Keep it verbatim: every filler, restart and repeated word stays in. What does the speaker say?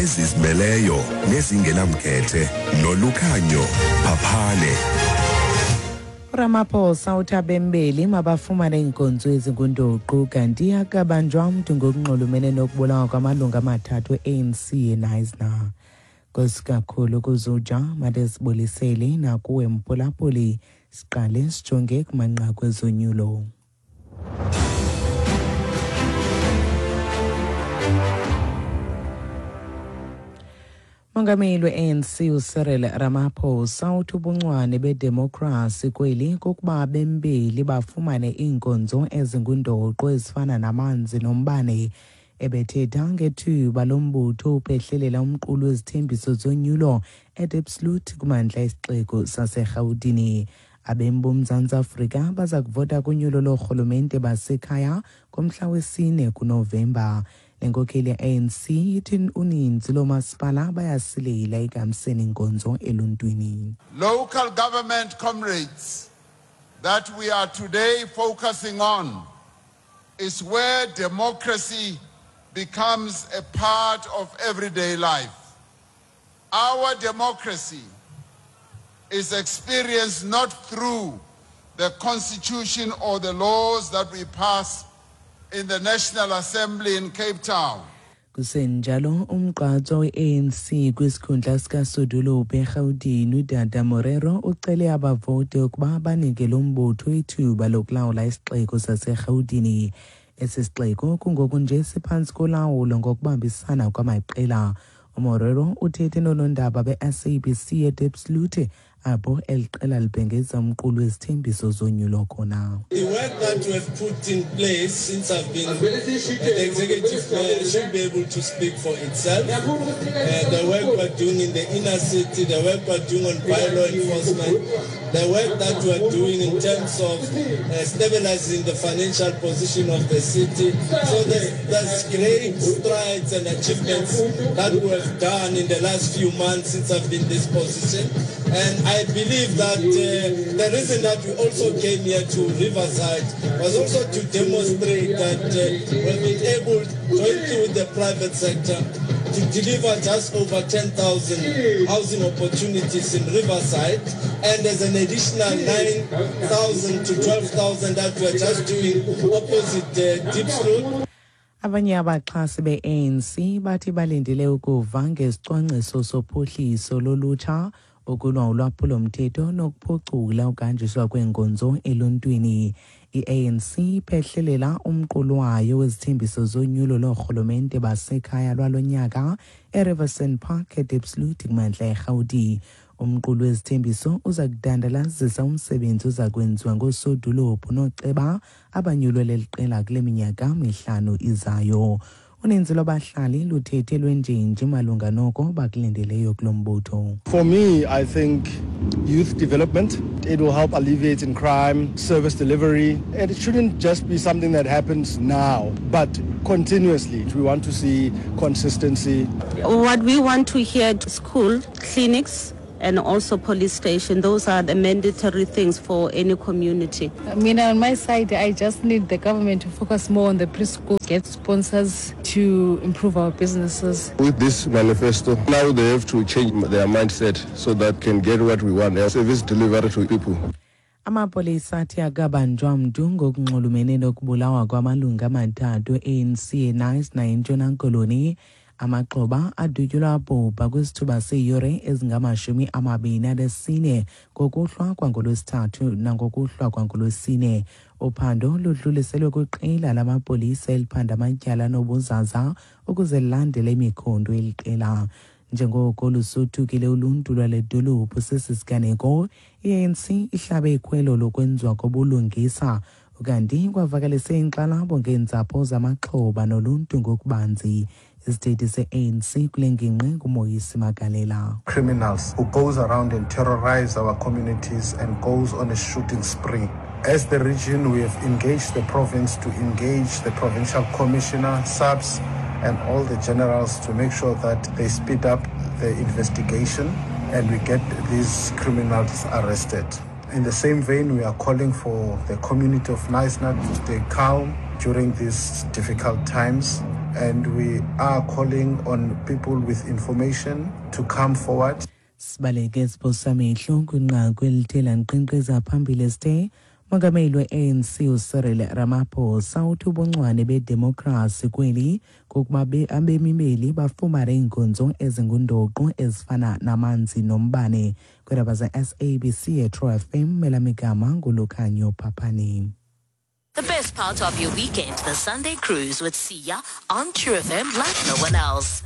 Ezizimeleyo nezingenamkhethe noLukhanyo Phaphane. Ramaphosa uthi abembeli mabafumane iinkonzo ezingundoqo kanti akabanjwa mntu ngokunxulumene nokubulawa kwamalungu amathathu e-A N C eKnysna. Nkosi kakhulu kuzuja madesibulisele nakuwe mphulaphuli, siqale sijonge kumanqaku ezonyulo. Mongameli we-A N C uCyril Ramaphosa uthi ubuncwane bedemokrasi kweli kukuba abembeli bafumane iinkonzo ezingundoqo ezifana namanzi nombane. Ebethetha ngethuba lombutho uphehlelela umqulu wezithembiso zonyulo eDiepsloot kumandla esixeko saseRhawutini. Abemi boMzantsi Afrika baza kuvota kunyulo loorhulumente basekhaya ngomhla wesine kuNovemba. Le nkokheli ye-A N C ithi uninzi loomasipala bayasilela ekuhambiseni inkonzo eluntwini. Local government comrades that we are today focusing on is where democracy becomes a part of everyday life. Our democracy is experienced not through the constitution or the laws that we pass in the National Assembly in Cape Town. Kusenjalo umgqatswa we-A N C kwisikhundla sikaSodolophu eRhawutini uDada Morero ucele abavoti ukuba banike lo mbutho ithuba lokulawula isixeko saseRhawutini. Esi sixeko kungoku nje siphantsi kolawulo ngokubambisana kwamaqela. UMorero uthethe noonondaba be-S A B C eDiepsloot apho eli qela libhengeza umqulu wezithembiso zonyulo khona. The work that we have put in place since I've been the executive mayor should be able to speak for itself. Uh, the work we're doing in the inner city, the work we're doing on bylaw enforcement, the work that we're doing in terms of uh, stabilizing the financial position of the city. So there's, there's great strides and achievements that we have done in the last few months since I've been in this position. And I believe that uh, the reason that we also came here to Riverside was also to demonstrate that uh, we've been able, jointly with the private sector, to deliver just over ten thousand housing opportunities in Riverside, and there's an additional nine thousand to twelve thousand that we're just doing opposite uh, Diepsloot. Abanye abaxhasi be-A N C bathi balindele ukuva ngesicwangciso sophuhliso lolutsha, ukulwa ulwaphulomthetho nokuphucula ukuhanjiswa kweenkonzo eluntwini. I-A N C iphehlelela umqulu wayo wezithembiso zonyulo loorhulumente basekhaya lwalo nyaka eRiverson Park eDiepsloot kumantla eRhawuti. Umqulu wezithembiso uza kudandalazisa umsebenzi oza kwenziwa ngoosodolophu nooceba abanyulwe leli qela kule minyaka mihlanu izayo. Uninzi lwabahlali luthethe lwenjenje malunga noko bakulindeleyo kulo mbutho. For me, I think youth development, it will help alleviate in crime, service delivery. And it shouldn't just be something that happens now, but continuously. We want to see consistency. What we want to hear, school, clinics, and also police station. Those are the mandatory things for any community. I mean, on my side, I just need the government to focus more on the preschool, get sponsors to improve our businesses. With this manifesto, now they have to change their mindset so that can get what we want, service delivery to people. Amapolisa athi akabanjwa mntu ngokunxulumene nokubulawa kwamalungu amathathu e-A N C eKnysna eNtshona Koloni. Amaxhoba adutyulwa abhubha kwisithuba seeyure ezingamashumi amabini anesine ngokuhlwa kwangolwesithathu nangokuhlwa kwangolwesine. Uphando ludluliselwe kwiqela lamapolisa eliphanda amatyala nobuzaza ukuze lilandele imikhondo eli qela. Njengoko lusothukile uluntu lwale dolophu sesi siganeko, i-A N C ihlabe ikhwelo lokwenziwa kobulungisa ukanti kwavakalise inkxalabo ngeentsapho zamaxhoba noluntu ngokubanzi. Isithethi se-A N C kule ngingqi nguMoyisi Magalela. Criminals who goes around and terrorize our communities and goes on a shooting spree. As the region, we have engaged the province to engage the provincial commissioner, S A P S, and all the generals to make sure that they speed up the investigation and we get these criminals arrested. In the same vein, we are calling for the community of Knysna to stay calm during these difficult times. And we are calling on people with information to come forward. Sibaleke siphosamehlo kwinqaku elithe lanqenqeza phambili esithe mongameli we-A N C uCyril Ramaphosa uthi ubuncwane bedemokhrasi kweli kukuba abemi beli bafumane iinkonzo ezingundoqo ezifana namanzi nombane. Kwiindaba ze-S A B C eTru F M, elamigama nguLukhanyo Phaphani. The best part of your weekend, the Sunday Cruise with Siya on True F M like no one else.